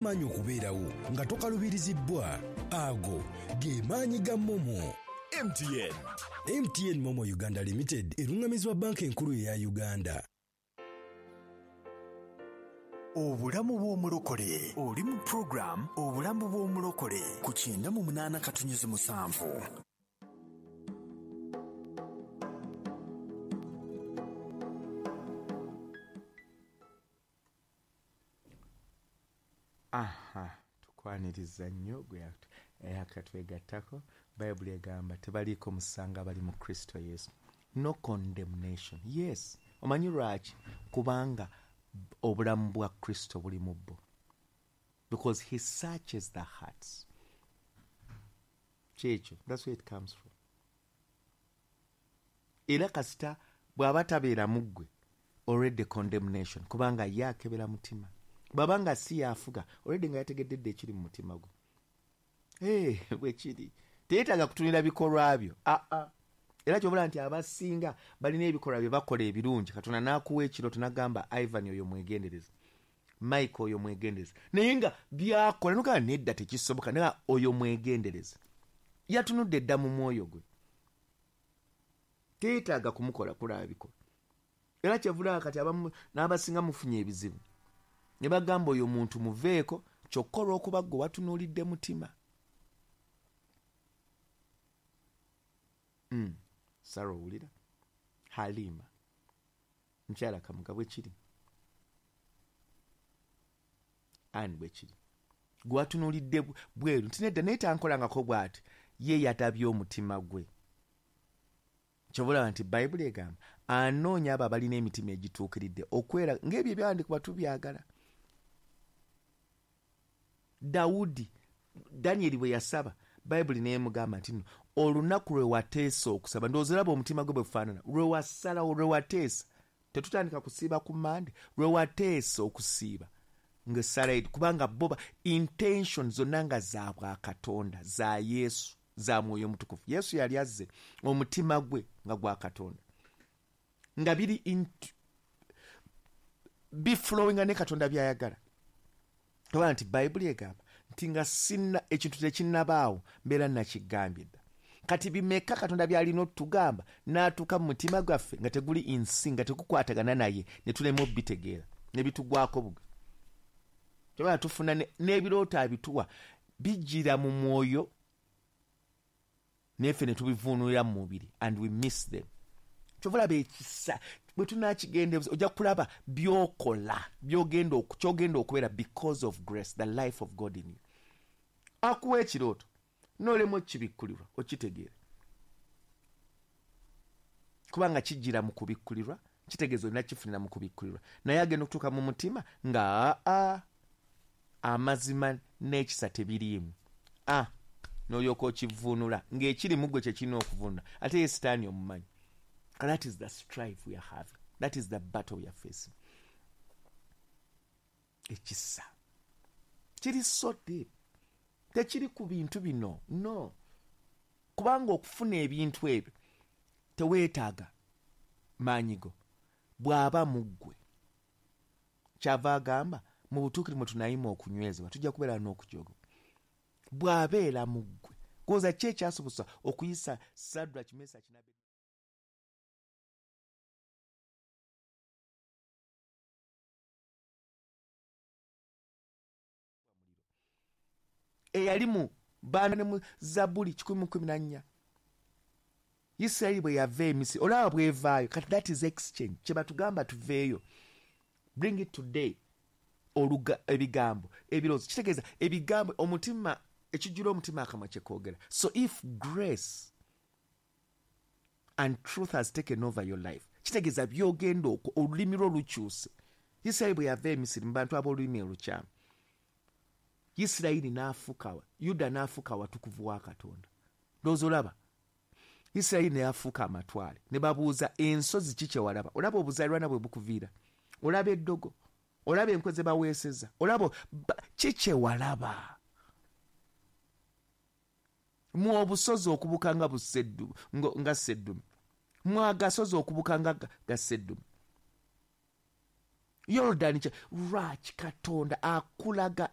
Maanyi okubeerawo nga tokalubirizibbwa. Ago ge maanyi ga MoMo. MTN. MTN MoMo Uganda Limited erungamizibwa Bbanka Enkulu eya Uganda. Obulamu bw'Omulokole. Oli mu program Obulamu bw'Omulokole ku 98.7. Aha, tukwaniriza nnyo gwe eyakatwegattako. Bayibuli egamba tebaliiko musango abali mu Kristo Yesu. No condemnation. Yes. Omanyi lwaki? Kubanga obulamu bwa Kristo buli mu bo. Because he searches the hearts. Kyekyo, that's where it comes from. Era kasita bw'aba tabeera mu ggwe, already condemnation, kubanga ye akebera mutima. Bw'aba nga si y'afuga, already nga yategedde dda ekiri mu mutima gwo. Hey, bwe kiri. Teyeetaaga kutunira bikolwa byo. Aa. Era ky'obula nti abasinga balina ebikolwa bye bakola ebirungi, Katonda n'akuwa ekirooto n'agamba Ivan oyo mwegendereze, Mike oyo mwegendereze, naye nga by'akola n'ogamba nedda tekisoboka, naye oyo mwegendereze. Yatunudde dda mu mwoyo gwe. Teyeetaaga kumukola kulaba bikolwa. Era kyevulaba kati abamu n'abasinga mufunye ebizibu ne bagamba oyo muntu muveeko, kyokka olw'okuba ggwe watunuulidde mutima. Sarah owulira? Halima mukyala Kamuga bwe kiri, Ann bwe kiri, gwe watunuulidde bweru nti nedda naye tankolangako bw'ati, ye yatabye omutima gwe. Kyova olaba nti Bayibuli egamba anoonya abo abalina emitima egituukiridde okwera ng'ebyo ebyawandiikibwa tubyagala. Dawudi, Danyeri bwe yasaba, Bayibuli n'emugamba nti nno olunaku lwe wateesa okusaba, ndowooza olaba omutima gwe bwe gufaanana, lwe wasalawo, lwe wateesa, tetutandika kusiiba ku Mande, lwe wateesa okusiiba ng'essala eri, kubanga bo intention zonna nga za bwakatonda, za Yesu, za Mwoyo Mutukuvu. Yesu yali azze omutima gwe nga gwa Katonda, nga biri biflowinga ne Katonda by'ayagala. Toba nti Bayibuli egamba nti nga sinna ekintu tekinnabaawo mbeera nakigambye dda. Kati bimeka Katonda by'alina otugamba n'atuuka mu mutima gwaffe nga teguli insi, nga tegukwatagana naye, ne tulema obitegeera, ne bitugwako bugwi. Toba tufuna n'ebirooto abituwa bijjira mu mwoyo neffe ne tubivuunulira mu mubiri and we miss them. Kyova olaba ekisa bwe tunaakigenda ojja kulaba by'okola, ky'ogenda okubeera because of grace, the life of God in you. Akuwa ekirooto n'olema okibikkulirwa okitegeera, kubanga kijjira mu kubikkulirwa, kitegeeza olina kifunira mu kubikkulirwa, naye agenda okutuuka mu mutima nga aa amazima n'ekisa tebiriimu, n'olyoka okivuunula ng'ekiri mu ggwe kye kirina okuvuunula, ate ye Sitaani omumanyi. That is the strife we are having. That is the battle we are facing. Ekisa kiri so deep, tekiri ku bintu bino, no, kubanga okufuna ebintu ebyo teweetaaga maanyi go, bw'aba mu ggwe. Kyava agamba mu butuukirivu mwe tunayima okunywezebwa, tujja kubeera n'okujooga. Bw'abeera mu ggwe, goza ki ekyasobosa okuyisa Sadrach, Mesach ne Abednego? Eyali mu baana ne mu Zabbuli 114. Isirayiri bwe yava e Misiri, olaba bw'evaayo. Kati that is exchange. Kye batugamba tuveeyo. Bring it today. Oluga, ebigambo, ebirowoozo. Kitegeeza ebigambo, omutima, ekijjula omutima akamwa kye koogera. So if grace and truth has taken over your life, kitegeeza by'ogenda okwo, olulimi lwo lukyuse. Isirayiri bwe yava e Misiri mu bantu ab'olulimi olukyamu, Isirayiri n'afuuka, Yuda n'afuuka awatukuvu wa Katonda. Ndowooza olaba Isirayiri ne yafuuka amatwale, ne babuuza ensozi ki kye walaba. Olaba obuzaalirwana bwe bukuviira, olaba eddogo, olaba enkwe ze baweeseza, olaba ki kye walaba. Mu obusozi okubuka nga buseddu, nga sseddume, mu agasozi okubuka nga ga sseddume. Yorodani kye lwaki Katonda akulaga